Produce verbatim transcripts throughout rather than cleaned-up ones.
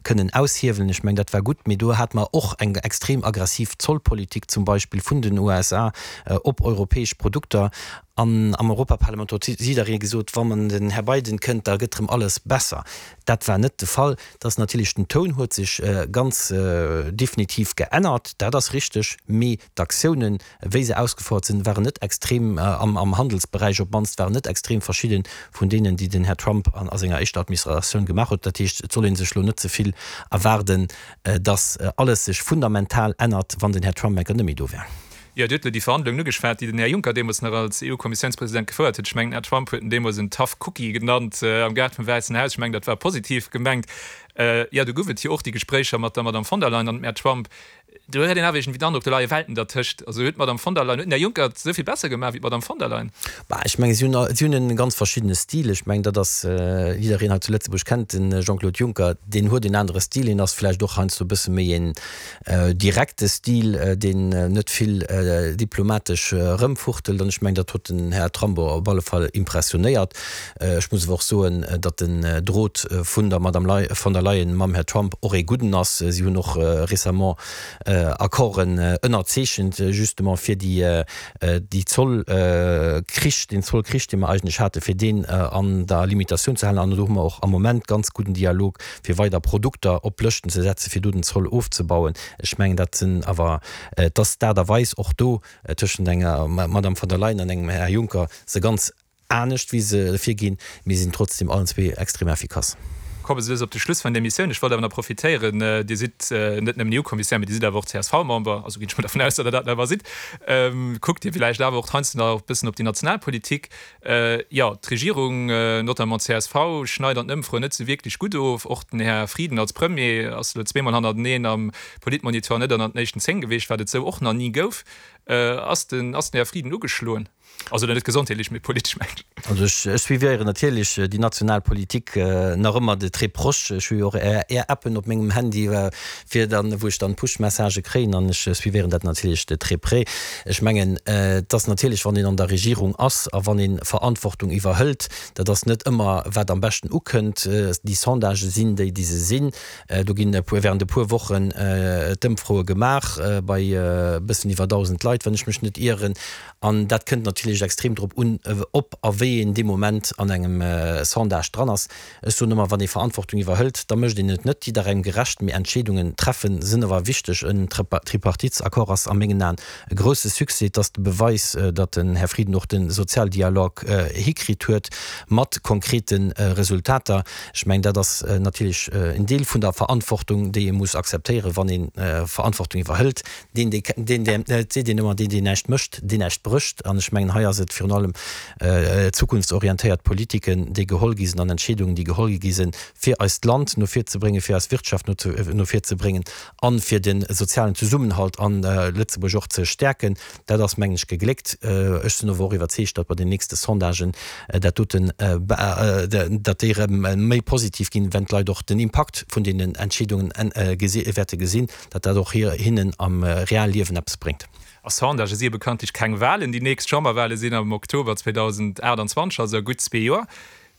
kënnen aushiewelen. Ech mengen, dat war gutt, mee do hate mer och eng extrem aggressiv Zollpolitik zum Beispill vun den U S A op europäesch Produkter. An am Europaparlament huet jidderee gesot, wann den Här Biden kënnt, da gëtt erëm alles besser. Dat war net de Fall. Dass natierlech den Toun huet sech ganz definitiv geännert, dat ass richteg, mee d'Aktiounen, wéi se ausgefouert sinn, waren net extrem, am Handelsberäich op d'mannst, waren net extrem verschidde vun deenen, déi den Här Trump a senger éischter Administratioun gemaach huet. Dat heescht, et soll ee sech elo net ze vill erwaarden, dass alles sech fundamental ännert, wann den Här Trump enker net méi do wär. Jo, Dir hutt elo déi Verhandlungen ugeschwat, déi den Här Juncker deemools nach als E U-Kommissiounspresident gefouert huet. Ech mengen, den Här Trump huet en deemools en tough cookie genannt am Gaart vum Wäissen Haus. Ech mengen, dat war positiv gemengt. Jo, do gouf et jo och déi Gespréicher mat der Madame von der Leyen an dem Här Trump. Do huet een awer iergendwéi den Androck, do leie Welten dertëscht. Also huet d'Madame von der Leyen, huet den Här Juncker et esou vill besser gemaach wéi d'Madame von der Leyen? Bah, ech mengen, si hunn, si hunn e ganz verschiddene Stil. Ech mengen, dat ass, jiddereen hei zu Lëtzebuerg kennt de Jean-Claude Juncker, deen huet en anere Stil, hien ass vläicht och heiansdo e bësse méi en direkte Stil, deen net vill diplomatesch erëmfuchtelt. An ech mengen, dat huet den Här Trump op alle Fall impressionéiert. Ech muss awer och soen, datt den Drot vun der Madame von der Leyen mam Här Trump och ee gudden ass. Si hunn och récemment Accorden ënnerzeechent, justement fir déi déi Zollkrich, deen Zollkrich, dee mer eigentlech haten, fir deen an der Limitatioun ze halen. An do hu mer och am Moment ganz gudden Dialog, fir weider Produkter op Lëschten ze setzen, fir do den Zoll ofzebauen. Ech mengen, dat sinn awer, et ass d'Aart a Weis och do tëschent enger Madame von der Leyen an engem Här Juncker se ganz anescht, wéi se virginn, mee sinn trotzdem allen zwee extrem effikass. Komme se lues op de Schluss vun der Emissioun. Ech wollt awer nach profitéieren, Dir sidd net nëmmen E U-Kommissär, mee Dir sidd awer och C S V-Member, also ginn ech mol dervun aus, datt Der dat nach ëmmer sidd. Kuckt Dir villäicht awer och heiansdo nach e bëssen op déi national Politik? Jo, d'Regierung, notamment d'C S V, schneit an den Ëmfroen net esou wierklech gutt of. Och den Här Frieden als Premier ass elo zweemol hannerteneen am Politmonitor net ënnert den éischten zéng gewiescht, wat et esou och nach ni gouf. Ass den, ass den Här Frieden ugeschloen? Also net gesondheetlech, mee politesch mengen ech. Also ech, ech suivéieren natierlech déi national Politik nach ëmmer de très proche. Ech hu jo och Är, Är Appen op mengem Handy, fir dann, wou ech dann Push-Messagë kréien, an ech suivéieren dat natierlech de très près. Ech mengen, et ass natierlech, wann een an der Regierung ass a wann ee Verantwortung iwwerhëlt, dat ass net ëmmer wat am beschten ukënnt. Déi Sondagë sinn déi, déi se sinn. Do ginn e puer, während e puer Wochen d'Ëmfroe gemaach bei e bëssen iwwer dausend Leit, wann ech mech net ieren. An dat kënnt natierlech extrem drop un, ob a wéi een dee Moment an engem Sondage dran ass. Ech soen ëmmer, wann ee Verantwortung iwwerhëlt, da mécht een et net jidderengem gerecht, mee Entscheedungen treffen sinn awer wichteg. En Tripartitsaccord ass a mengen Aen e grousse Succès. Et ass de Beweis, datt den Här Frieden och de Sozialdialog hikritt huet mat konkrete Resultater. Ech mengen, dat ass natierlech en Deel vun der Verantwortung, déi ee muss akzeptéieren, wann ee Verantwortung iwwerhëlt. Deen, dee, deen, deen, et seet een ëmmer, deen, deen näischt mécht, deen näischt brécht. An ech mengen, hei ass et virun allem zukunftsorientéiert Politiken, déi geholl gi sinn an Entscheedungen, déi geholl gi sinn, fir eist Land no vir ze bréngen, fir eis Wirtschaft no, no vir ze bréngen an fir de sozialen Zesummenhalt an Lëtzebuerg och ze stäerken. Dat ass, mengen ech, gegléckt. Ech sinn awer och iwwerzeegt, datt bei den nächste Sondagen dat doten, datt déi erëm méi positiv ginn, wenn d'Leit och den Impakt vun deenen Entscheedungen wäerte gesinn, datt dat och hinnen am realen Liewen eppes bréngt. A Sondagë si bekanntlech keng Wahlen. Déi nächst Chamberwahle sinn am Oktober zweedausendachtundzwanzeg, also a gutt zwee Joer.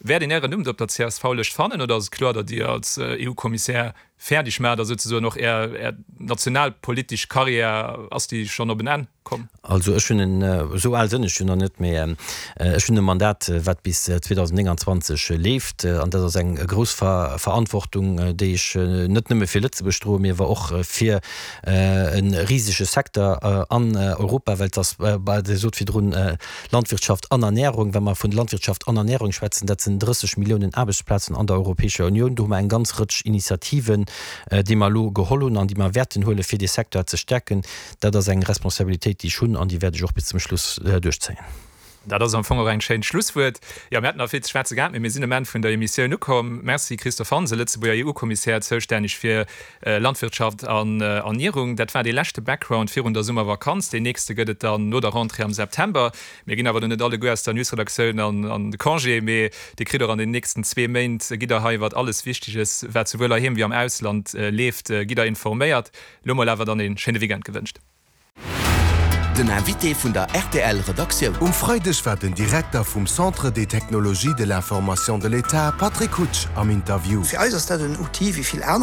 Wäert een Ären Numm do op der C S V-Lëscht fannen oder ass et kloer, datt Dir als E U-Kommissär fäerdeg maacht a souzesoen och Är, Är nationalpolitesch Karriär, ass déi schonn op en Enn komm? Also ech hunn en, esou al sinn ech jo nach net, mee ech hunn e Mandat, wat bis zweedausendnénganzwanzeg leeft. An dat ass eng grouss Verantwortung, déi ech net nëmme fir Lëtzebuerg droen, mee awer och fir e risege Secteur an Europa, well et ass, Dir sot virdrun Landwirtschaft an Ernährung, wa mer vun Landwirtschaft an Ernährung schwätzen, dat sinn drësseg Milliounen Aarbechtsplazen an der Europäescher Unioun. Do hu mer eng ganz Rëtsch Initiativen, déi mer elo geholl hunn an déi mer wäerten huelen, fir dee Secteur ze stärken. Dat ass eng Responsabilitéit, déi ech hunn an déi wäert ech och bis zum Schluss duerchzéien. Dat ass am Fong och eng schéint Schlusswuert. Jo, mir hätten nach vill ze schwätze gehat, mee mir sinn um Enn vun der Emissioun ukomm. Merci Christophe Hansen, Lëtzebuerger E U-Kommissär, zoustänneg fir Landwirtschaft an Ernierung. Dat war dee leschte Background virun der Summervakanz. Deen nächste gëtt et dann no der Rentrée am September. Mir ginn awer do net alleguer aus der Newsredaktioun an de Congé, mee Dir kritt och an den nächsten zwee Méint, gitt Der hei iwwert alles Wichteges, wat souwuel heiheem wéi am Ausland leeft, gitt Der informéiert. Lo mol awer dann ee schéine Weekend gewënscht. Den Invité vun der RTL Redaktioun. Um Freideg war den Direkter vum Centre des technologies de l'information de l'État Patrick Hutsch am Interview. Fir eis ass dat en Outil wéi vill aner.